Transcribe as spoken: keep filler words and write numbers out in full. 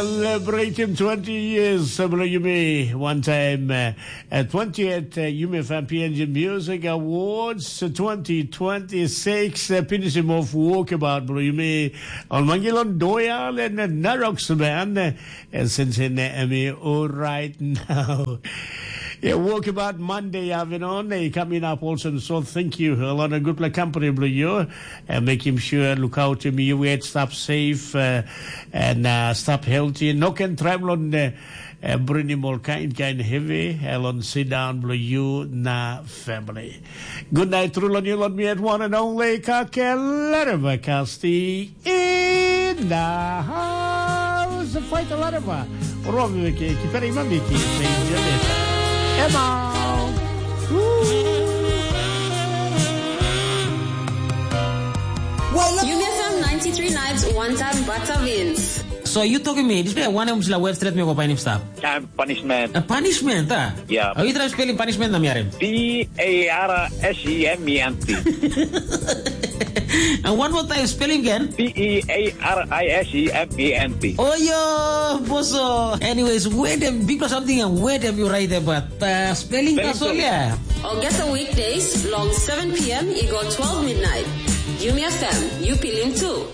Celebrating twenty years, uh, bilong yumi. One time, uh, uh, twentieth, uh, Yumi Fan P N G Music Awards, uh, twenty twenty-six, uh, pinis him off walkabout, bilong yumi. On Mangilon Doyal and, uh, Narok Saban, uh, and since in, uh, Emmy, all right now. Yeah, walkabout Monday, Avinon, uh, coming up also. So thank you. A lot of good company, bilong you. Uh, make him sure, look out to me, you wait, stop safe, uh, and, uh, stop healthy. No can travel on the, uh, bring him all kind, kind heavy, uh, on sit down, bilong you, na family. Good night, through on you, on me at one and only Kakelera Kasti in the house. Fight a lot of, uh, Robi Wiki, Kiperi Mamiki, Saint Jimmy. Emma. Woo. Yumi F M ninety-three nights, one time Batavin. So you talking me, this way one em sila web straight me go painim stap. Time punishment. A punishment, ah? Yeah. Are you trying spelling punishment na miarim? P A R S E M E N T. And one more time, spelling again. P E A R I S E M E N T. Oh, yo, boso. Anyways, where them people something and where them you write about? Uh, spelling, spelling, that's all, sorry. Yeah. August weekdays, long seven p m, it go twelve midnight. Yumi F M, you feeling too.